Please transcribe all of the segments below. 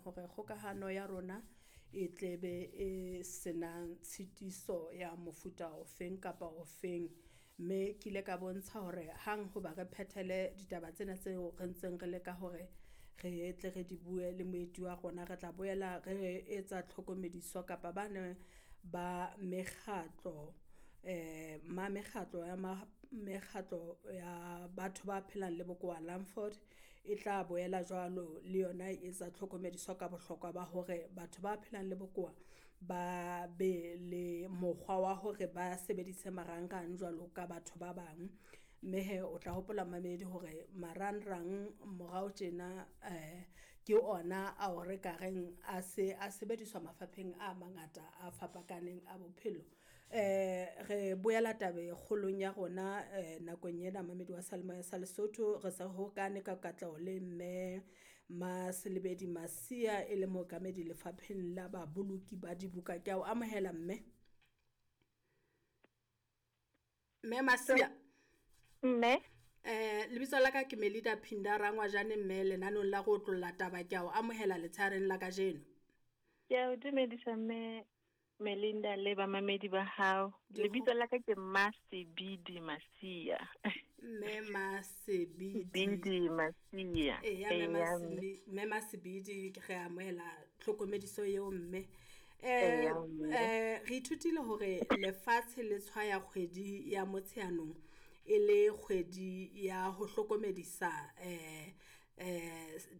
hore kgokahano ya rona e tlebe e senang tshitiso ya mofuta ofeng kapa ofeng. Mme ke ile ka bontsha hore hang hoba re phethele ditaba tsena tseo re ntseng re leka hore re tle re di bue le moeti wa rona, re tla boela re etsa tlhokomediso kapa bane ba mekgatlo ma mekgatlo ya mekgatlo ya batho ba phelang le bokowa Langford e tla boela jwalo le yona e etsa tlhokomediso ka bohlokwa ba hore batho ba phelang le bokowa ba be le mokgwa wa hore ba sebedise marangrang jwalo ka batho ba bang. Mme he o tla hopola mamedi hore marangrang morao tjena ke ona ao re ka reng a se a sebediswa mafapheng a mangata a fapakaneng a bophelo. Re boela tabe kgolong ya rona nakong ena mamedi wa seyalemoya sa Lesotho re se hokane ka katleho le mme Maselebedi Masia e le mookamedi lefapheng la baboloki ba dibuka. Ke a o amohela mme. Mme Masia. Mme. Lebitso la ka ke Melida Phinda Rangwajane mme lenanong la go otlolla taba ke a o amohela letshareng la kajeno. Ke a o dumedisa mme Melinda le bamamedi ba hao. Lebitso la ka ke Masebidi Masia. Mme Masebidi. Bidi Masia. Eya, mme Masebidi re amohela tlhokomediso eo mme. Re ithutile hore lefatshe le tshwaya kgwedi ya Motsheanong e le kgwedi ya ho hlokomedisa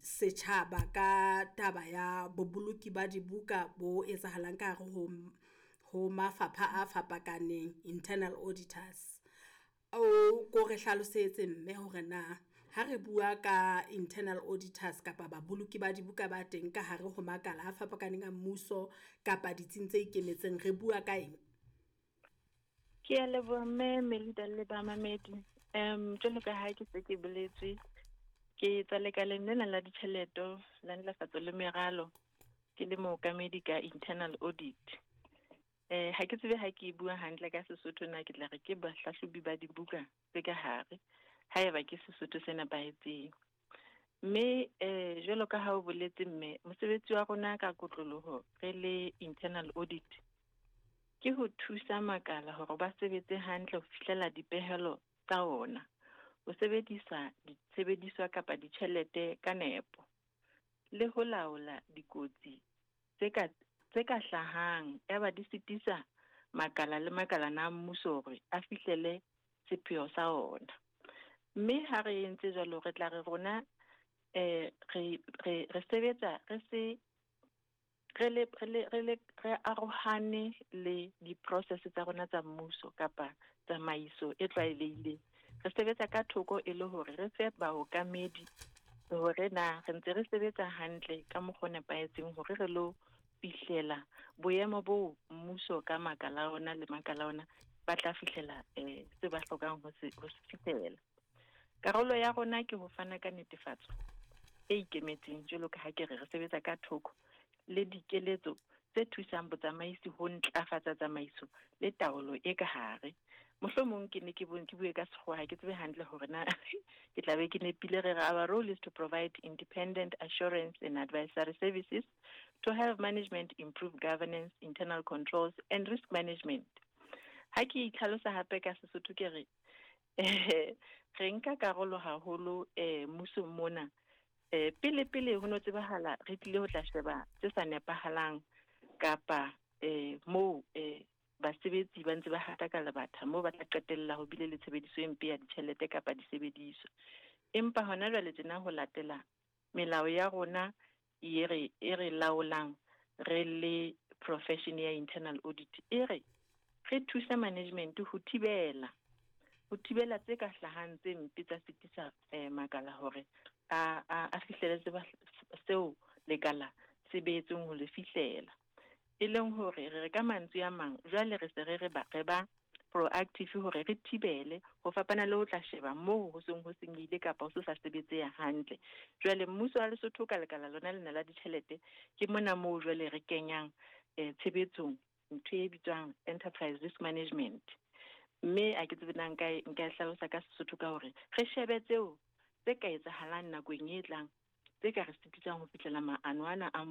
setjhaba ka taba ya boboloki ba dibuka bo etsahalang ka hare ho mafapha a fapakaneng, internal auditors. O ko re hlalosetse mme hore na ha re bua ka internal auditors kapa baboloki ba dibuka ba teng ka hare ho makala a fapakaneng a mmuso kapa ditsing tse ikemetseng, re bua ka eng? Ke a leboha mme Melinda le bamamedi. Jwalo ka ha ke se ke boletse, ke tswa lekaleng lena la ditjhelete la ntlafatso le meralo, ke le mookamedi ka internal audit. Ha ke tsebe ha ke bua hantle ka Sesotho na ke tla re ke bahlahlobi ba dibuka tse ka hare, haeba ke Sesotho se nepahetseng. Mme jwalo ka ha o boletse mme, mosebetsi wa rona ka kotloloho re le internal audit ke ho thusa makala hore ba sebetse hantle ho fihlela dipehelo tsa ona, ho sebedisa disebediswa kapa ditjhelete ka nepo, le ho laola dikotsi tse ka hlahang yaba di sitisa makala le makalana a mmuso hore a fihlele sepheo sa ona. Mme ha re entse jwalo, re tla re rona re sebetsa re se re arohane le di-process tsa rona tsa mmuso kapa tsamaiso e tlwaelehileng. Re sebetsa ka thoko e le hore re fe baokamedi hore na re ntse re sebetsa hantle ka mokgwa o nepahetseng hore re lo fihlela boemo bo mmuso ka makala ona le makala ona ba tla fihlela se ba hlokang ho se fihlela. Karolo ya rona ke ho fana ka netefatso e ikemetseng, jwalo ka ha ke re sebetsa ka thoko le dikeletso tse thusang botsamaisi ho ntlafatsa tsamaiso le taolo e ka hare. Mohlomong ke ne ke bue ka sekgowa, ha ke tsebe hantle hore na ke tla be ke nepile. Re re our role is to provide independent assurance and advisory services to help management improve governance, internal controls and risk management. Ha ke itlhalosa hape ka Sesotho ke re re nka karolo haholo mmusong mona. Pele pele ho no tsebahala re tlile ho tla sheba tse sa nepahalang kapa moo basebetsi ba ntse ba hata ka lebatha moo ba tla qetella ho bile le tshebediso e mpe ya ditjhelete kapa disebediswa. Empa hona jwale tjena ho latela melao ya rona e re laolang re le profession ya internal audit, e re re thusa management ho thibela tse ka hlahang tse mpe tsa sitisa makala hore a fihlele seo lekala se beetsweng ho le fihlela. E leng hore re ka mantswe a mang jwale re se re ba proactive hore re thibele ho fapana le ho tla sheba moo ho seng ho senyehile kapa ho se sa sebetseha hantle. Jwale mmuso wa Lesotho ka lekala lona lena la ditjhelete ke mona moo jwale re kenyang tshebetsong ntho e bitswang enterprise risk management. Mme a ke tsebe na nka e hlalosa ka Sesotho ka hore re shebe tseo tse ka etsahalang nakong e tlang tse ka re sitisang ho fihlela maano ana a